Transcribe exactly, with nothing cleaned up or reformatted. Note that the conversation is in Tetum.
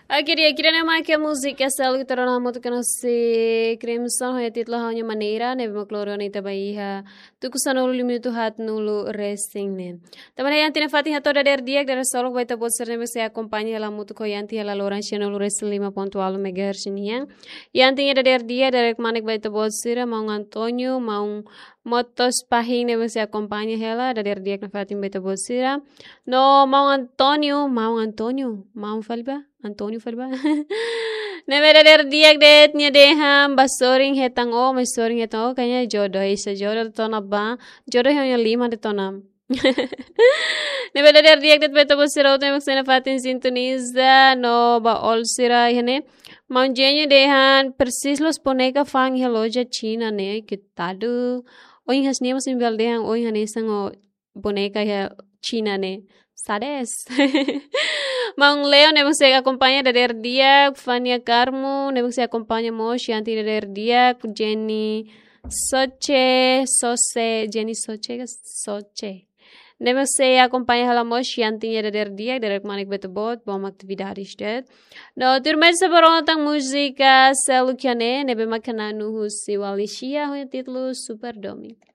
Oke, di'ak, ida-ne'e mak múzika seluk ita rona hamutuk ho ita-nia Crimson, ho títulu Ha'u-nia Maneira, ne'ebé mak loro ne'e ita ba iha tuku sanulu liu minutu haatnulu-resin-neen. Tanba ne'e Yanti nia fatin hato'o dadeer di'ak, dadeer solok ba ita-boot sira ne'ebé sei akompaña hela hamutuk ho Yanti hela loron sianulu-resin-lima pontu ualu megahertz nian. Yanti nia dadeer di'ak, dadeer kmanek ba ita-boot sira, maun António, maun Motos Pahin ne'ebé sei akompaña hela, dadeer di'ak nia fatin ba ita-boot sira. No maun António, maun António, maun fali ba? António fali ba? Ne'ebé dadeer di'ak de'it nia dehan ba sorin hetan ó, mai sorin hetan ó, kayaknya jodoh, isa jodoh de'it ona ba, jodoh yang lima de'it ona. Ne'ebé dadeer di'ak de'it ba ita-boot sira hotu ne'ebé sei nafatin sintoniza, no ba oin sira iha ne'e. Maun Jenny dehan, presiza loos boneka fa'an iha loja Xina ne'e, koitadu. Ohin hanesan nia mós imi bele dehan, ohin hanesan ó boneka iha Xina ne'e. Sá de'it. Maun Leo ne'ebé sei akompaña dadeer di'ak, Fania Carmo ne'ebé sei akompaña mós Yanti dadeer di'ak, Jenny Soche, Sose, Jenny Soche, Soche. Ne'ebé sei akompaña hela mós Yanti nia dadeer di'ak, dadeer kmanek ba ita-boot, bom atividades de'it. No tuirmai ita sei ba rona tan múzika seluk iha ne'e, ne'ebé mak hanu'u husi Walisha, ho títulu Super Domingo.